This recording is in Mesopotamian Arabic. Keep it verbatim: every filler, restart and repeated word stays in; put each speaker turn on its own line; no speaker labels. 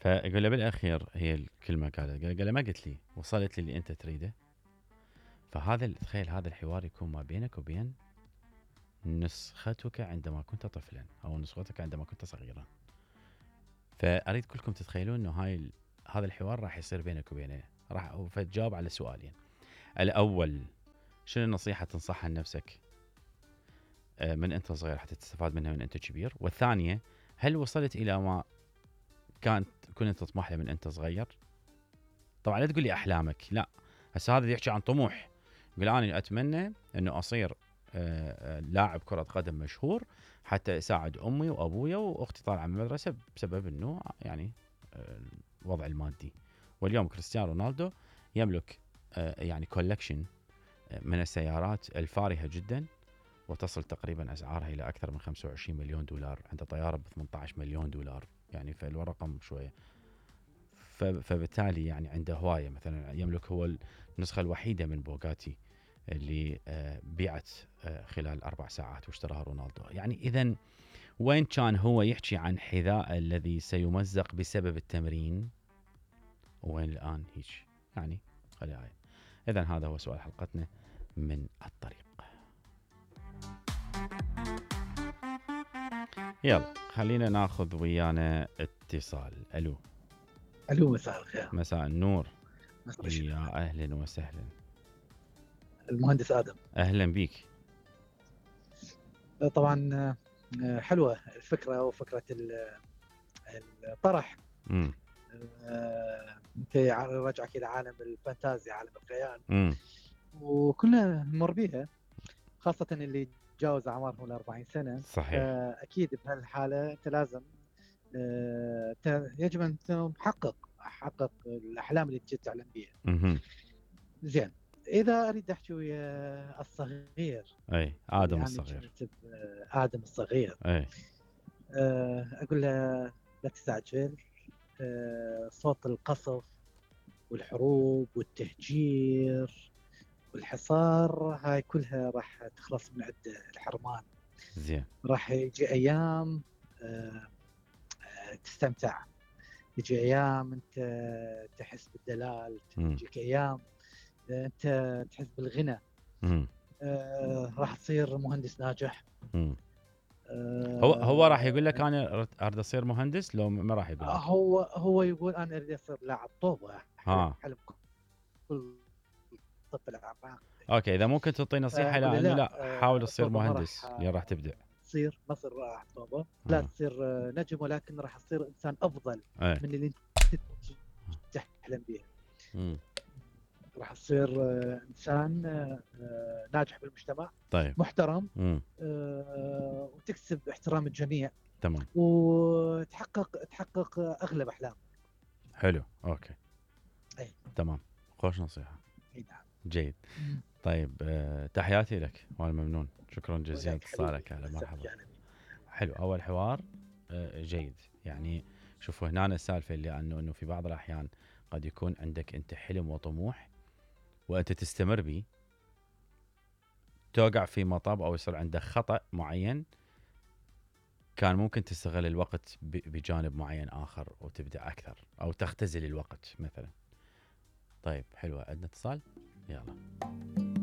فيقول له بالاخير هي الكلمه قالت قال له ما قلت لي وصلت لي اللي انت تريده. فهذا تخيل هذا الحوار يكون ما بينك وبين نسختك عندما كنت طفلا او نسختك عندما كنت صغيرا. فاريد كلكم تتخيلون انه هاي هذا الحوار راح يصير بينك وبينه، راح فتجاوب على سؤالين. الاول شنو النصيحه تنصحها لنفسك من انت صغير حتى تستفاد منها من انت كبير؟ والثانيه هل وصلت الى ما كانت كنت تطمح له من انت صغير؟ طبعا لا تقول لي احلامك، لا، هسه هذا يحكي عن طموح. يقول انا اتمنى انه اصير لاعب كره قدم مشهور حتى اساعد امي وابويا واختي طالعه من المدرسه بسبب انه يعني الوضع المادي. واليوم كريستيانو رونالدو يملك يعني كولكشن من السيارات الفارهه جدا، وتصل تقريبا اسعارها الى اكثر من خمسة وعشرين مليون دولار، عنده طياره ب ثمانية عشر مليون دولار، يعني فالرقم شويه. فبالتالي يعني عنده هوايه، مثلا يملك هو النسخه الوحيده من بوغاتي اللي بيعت خلال اربع ساعات واشتراها رونالدو. يعني اذا وين كان هو يحكي عن حذاء الذي سيمزق بسبب التمرين، وين الان هيك يعني خلي هاي. اذا هذا هو سؤال حلقتنا من الطريق. يلا خلينا ناخذ ويانا اتصال. الو
الو مساء الخير.
مساء النور.
مساء
يا اهلا وسهلا.
المهندس ادم.
اهلا بيك.
طبعا حلوه الفكره وفكره الطرح.
امم
انت رجعك الى عالم الفانتازيا، عالم الخيال.
امم
وكلنا نمر بيها، خاصه اللي تجاوز اعمارهم الأربعين سنه.
صحيح.
اكيد بهالحاله انت لازم يجب ان تحقق حقق الاحلام اللي انت تعلم بيها.
امم
زين، اذا اريد احكي ويا الصغير،
اي ادم
يعني
الصغير،
ادم الصغير،
اي
اقول له لا تستعجل. صوت القصف والحروب والتهجير والحصار هاي كلها راح تخلص من عند الحرمان.
زين.
راح يجي ايام تستمتع، يجي ايام انت تحس بالدلال، تجيك ايام انت تحس بالغنى.
امم
آه، راح تصير مهندس ناجح.
امم
آه،
هو هو راح يقول لك انا اريد اصير مهندس، لو ما راح يقول لك؟
هو هو يقول انا اريد اصير لاعب طوبه.
ها
حلم كل طفل اعماق.
اوكي، اذا ممكن تعطي نصيحه
لا,
لانه
لا,
لا حاول تصير
طوبة ما
مهندس
راح
اللي راح تبدع.
تصير ما تصير لاعب طوبه، لا تصير نجم، ولكن راح تصير انسان افضل
ايه.
من اللي انت تحلم به.
امم
راح تصير انسان ناجح بالمجتمع.
طيب.
محترم.
امم
وتكسب احترام الجميع.
تمام.
وتحقق تحقق اغلب احلامك.
حلو. اوكي.
اي
تمام. خوش نصيحه.
اي نعم.
جيد. طيب أه تحياتي لك وانا ممنون، شكرا جزيلا اتصالك. اهلا مرحبا. حلو. اول حوار أه جيد. يعني شوفوا هنا السالفه اللي انه انه في بعض الاحيان قد يكون عندك انت حلم وطموح وانت تستمر به، توقع في مطب او يصير عندك خطأ معين، كان ممكن تستغل الوقت بجانب معين اخر وتبدع اكثر او تختزل الوقت مثلا. طيب حلوه. عندنا اتصال، يلا.